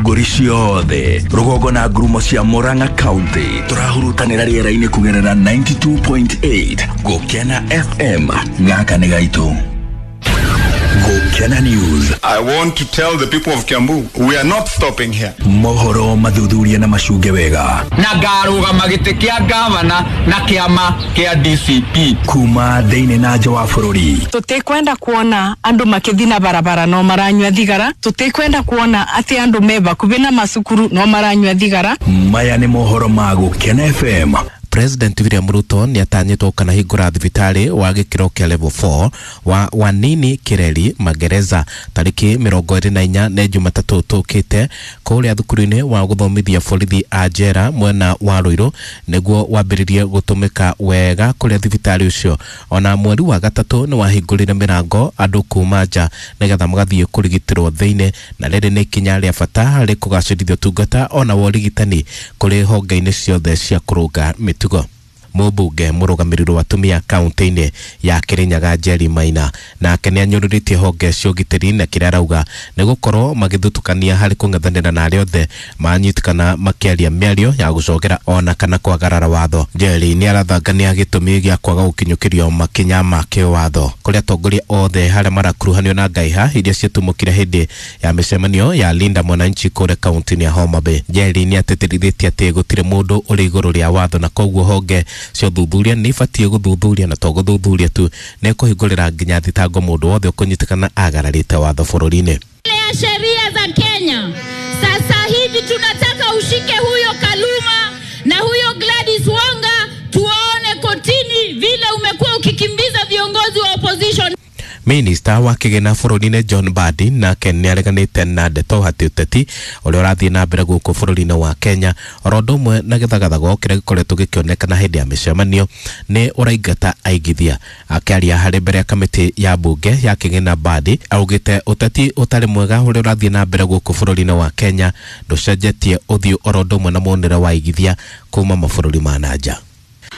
Ithũngũri ciothe rũgongo na ngurumo cia Murang'a County tũrahurutanĩra rĩera-inĩ kũgerera 92.8 Gũkena FM. Gaka nĩ gaitũ. Gũkena News. I want to tell the people of Kiambu, we are not stopping here. Mohoro mathuthuria na macunge wega. Na ngarũgama gĩtĩ kĩa gavana na kĩama kĩa DCP. Kuma thĩinĩ na nja wa bũrũri. Tũtikwenda kuona andũ makĩthi na barabara no maranyua thigara. Tũtikwenda kuona atĩ andũ me bakubi na macukuru no maranyua thigara. Maya nĩ mohoro ma Gũkena FM. President William Ruto nĩ atanyĩtwo kana hingũra thibitarĩ wa gĩkĩro kĩa level 4 wa Wanini Kireri Magereza tarĩki 24 nĩ Jumatatũ tũkĩte kũrĩa thukuru-inĩ wa gũthomithia borithi a njera mwena wa Ruiru nĩguo wambĩrĩrie gũtũmĩka wega kũrĩa thibitarĩ ũcio. Ona mweri wa gatatũ nĩ wahingũrire mĩrango andũ kuma nja nĩgetha magathiĩ kũrigitĩrwo thĩinĩ, na rĩrĩ nĩ ikinya rĩa bata harĩ kũgacĩrithia ũtungata ona wa ũrigitani kũrĩ honge-inĩ ciothe cia kũrũnga mĩtugo. Mũmbunge mũrũgamĩrĩri wa atumia kaunti-inĩ ya Kirinyaga Njeri Maina nake nĩ anyũrũrĩtie honge cia ũgitĩri na kĩrĩa arauga nĩ gũkorwo magĩthutũkania harĩ kũng'ethanĩra na arĩa othe manyitĩkana makĩaria mĩario ya gũcogera ona kana kwagarara watho. Njeri nĩ arathangania gĩtũmi gĩa kwaga gũkinyũkĩrio makinya ma kĩwatho kũrĩa atongoria othe harĩa marakuruhanio na ngaiha iria ciatumũkire hĩndĩ ya mĩcemanio ya Linda Mwananchi kũrĩa kaunti-inĩ ya Homa Bay. Njeri nĩ atĩtĩrithĩtie atĩ gũtirĩ mũndũ ũrĩ igũrũ rĩa watho na koguo honge cia ũthuthuria nĩ ibatiĩ gũthuthuria na to gũthuthuria tu nĩ kũhingũrĩra nginya thitango mũndũ wothe ũkũnyitĩkana agararĩte watho bũrũri-inĩ. Ya sheria za Kenya sasa hivi tunataka ushike huyo Kaluma na huyo Gladys Wanga, tuone kotini vile umekuwa ukikimbiza viongozi wa opposition. Minista wa kĩgĩna bũrũri-inĩ John Mbadi nake nĩ areganĩte na ndeto atĩ ũteti ũrĩa ũrathiĩ na mbere gũkũ bũrũri-inĩ wa Kenya oro ũndũ ũmwe na gĩthagathago kĩrĩa gĩkoretwo gĩkĩonekana hĩndĩ ya mĩcemanio nĩ ũraingata aigithia. Akĩaria harĩ mbere ya kamĩtĩ ya mbunge ya kĩgĩna, Mbadi augĩte ũteti ũtarĩ mwega ũrĩa ũrathiĩ na mbere gũkũ bũrũri-inĩ wa Kenya ndũcenjetie ũthiũ oro ũndũ ũmwe na muonere wa aigithia kuma mabũrũri ma na nja.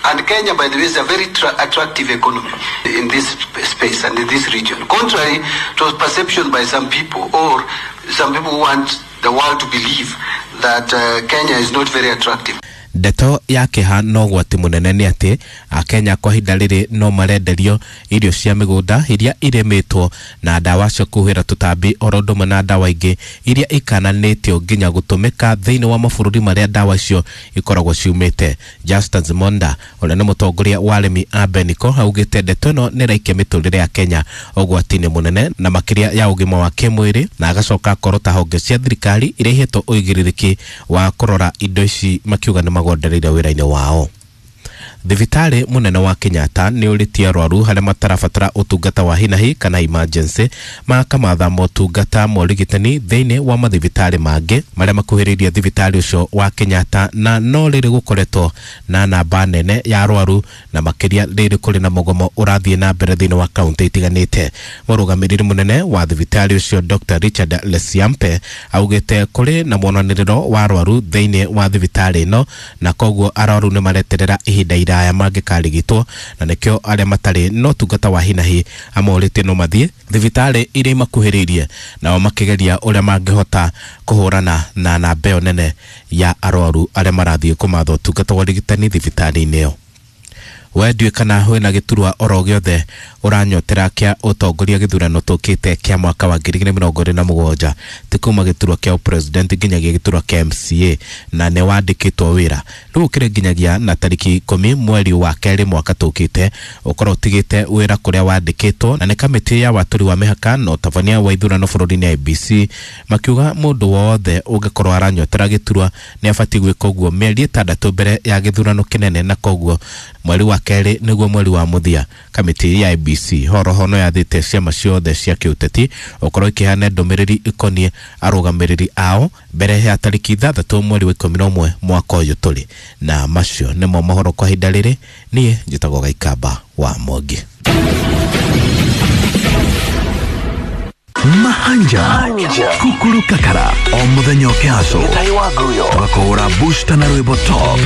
And Kenya, by the way, is a very attractive economy in this space and in this region. Contrary to perception by some people, or some people who want the world to believe that Kenya is not very attractive. Ndeto ya kĩeha no ũgwati mũnene nĩ atĩ Akenya kwa ihinda rĩrĩ no marenderio irio cia mĩgũnda iria irĩmĩtwo na ndawa cia kũhuhĩra tũtambi oro ũndũ ũmwe na ndawa ingĩ iria ikananĩtio nginya gũtũmĩka thĩinĩ wa mabũrũri marĩa ndawa icio ikoragwo ciumĩte. Justin Zimonda ũrĩa nĩ mũtongoria wa arĩmi a Beniko augĩte ndeto ĩno nĩ ĩraikia mĩtũrĩre ya Kenya ũgwati-inĩ mũnene na makĩria ya ũgima wa kĩmwĩrĩ, na agacoka akorota honge cia thirikari iria ihetwo ũigĩrĩrĩki wa kũrora indo ici makiuga nĩ magondereire wĩra-inĩ wao. Thibitarĩ mũnene wa Kenyatta nĩ ũrĩtie arwaru harĩa matarabatara ũtungata wa hinahi kana emergency makamatha motungata ma ũrigitani thĩinĩ wa mathibitarĩ mangĩ marĩa makuhĩrĩirie thibitarĩ ũcio wa Kenyatta, na no rĩrĩ gũkoretwo na namba nene ya arwaru na makĩria rĩrĩ kũrĩ na mũgomo ũrathiĩ na mbere thĩinĩ wa kaunti itiganĩte. Mũrũgamĩrĩri mũnene wa thibitarĩ ũcio Dr. Richard Lesiampe augĩte kũrĩ na mwonanĩrĩro wa arwaru thĩinĩ wa thibitarĩ ĩno na koguo arwaru nĩ mareterera ihinda iraya mangĩkarigitwo, na nĩkĩo arĩa matarĩ no ũtungata wa hinahi amorĩtie no mathiĩ thibitarĩ iria imakuhĩrĩirie nao makĩgeria ũrĩa mangĩhota kũhũrana na namba ĩyo nene ya arwaru arĩa marathiĩ kũmatha ũtungata wa ũrigitani thibitarĩ-inĩ ĩyo. We ndiũĩ kana wĩna gĩturwa oro gĩothe ũranyotera kĩa ũtongoria gĩthurano tũkĩte kĩa mwaka wa 2027 ti kuma gĩturwa kĩa ũpresident nginyagia gĩturwa kĩa MCA na nĩ wandĩkĩtwo wĩra rĩu ũkĩrĩ nginyagia na tarĩki 10 mweri wa kerĩ mwaka tũkĩte ũkorwo ũtigĩte wĩra kũrĩa wandĩkĩtwo, na nĩ kamĩtĩ ya watũri wa mĩhaka na ũtabania wa ithurano bũrũri-inĩ IEBC makiuga mũndũ wothe ũngĩkorwo aranyotera gĩturwa nĩ abatiĩ gwĩka ũguo mĩeri 6 mbere ya gĩthurano kĩnene, na koguo mweri wa kerĩ nĩguo mweri wa mũthia. Kamĩtĩ ya IEBC horoho no yathĩte ciama ciothe cia kĩũteti ũkorwo ikĩheana ndũmĩrĩri ĩkoniĩ arũgamĩrĩri ao mbere ya tarĩki 6 mweri wa 11 mwaka ũyũ tũrĩ. Na macio nĩmo mohoro kwa ihinda rĩrĩ. Niĩ njĩtagwo Gaikamba wa Mwangi. Mahanja Kukuru Kakara o muthenya ũkĩhaco tũgakũhũra booster na rwĩmbo top.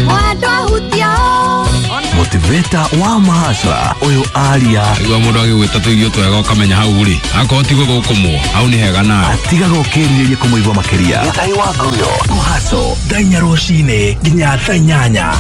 Motivator wa mahasra ũyũ aria. Igua mũndũ agĩgwĩta tũirio twega ũkamenya hau rĩ akorwo ti gũthũkũmwo hau nĩ hega nawe. Atigaga ũkĩrirĩria kũmũigua makĩria. Gĩtahi wa Nguyo kũhaco thaa 4 rũcinĩ nginya thaa 8.